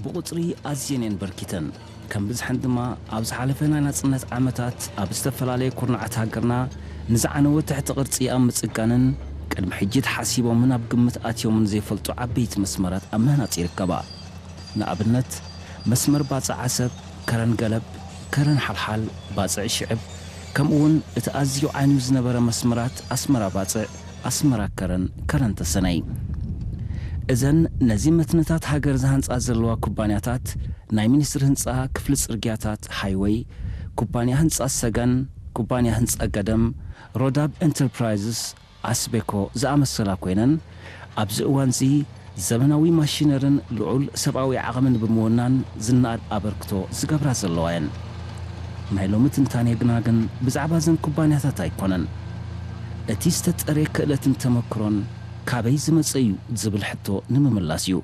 ብቑጽሪ ኣዝየን እየን በርኪተን። ከም ብዝሐን ድማ ኣብ ዝሓለፈ ናይ ናጽነት ዓመታት ኣብ ዝተፈላለየ ኩርናዓት ሃገርና ንዝዓነወ ትሕቲ ቅርጺ ኣብ ምጽጋንን ቅድሚ ሕጂ ተሓሲቦምን ኣብ ግምት ኣትዮምን ዘይፈልጡ ዓበይቲ መስመራት ኣብ ምህናጽ ይርከባ። ንኣብነት መስመር ባጽዕ ዓሰብ፣ ከረን ገለብ፣ ከረን ሓልሓል፣ ባጽዕ ሽዕብ፣ ከምኡ እውን እቲ ኣዝዩ ዓንዩ ዝነበረ መስመራት ኣስመራ ባጽዕ፣ ኣስመራ ከረን፣ ከረን ተሰነይ። እዘን ነዚ መትንታት ሃገር ዝሃንጻ ዘለዋ ኩባንያታት ናይ ሚኒስትሪ ህንጻ፣ ክፍሊ ጽርግያታት፣ ሃይወይ፣ ኩባንያ ህንጻ ሰገን፣ ኩባንያ ህንጻ ገደም፣ ሮዳብ ኤንተርፕራይዝስ፣ ኣስቤኮ ዝኣመሰላ ኮይነን ኣብዚ እዋንዚ ዘመናዊ ማሽነርን ልዑል ሰብኣዊ ዓቕምን ብምውናን ዝነኣድ ኣበርክቶ ዝገብራ ዘለዋ እየን። ናይ ሎሚ ትንታኔ ግና ግን ብዛዕባ እዘን ኩባንያታት ኣይኮነን። እቲ ዝተጠርየ ክእለትን ተመክሮን ካበይ ዝመጸ እዩ ዝብል ሕቶ ንምምላስ እዩ።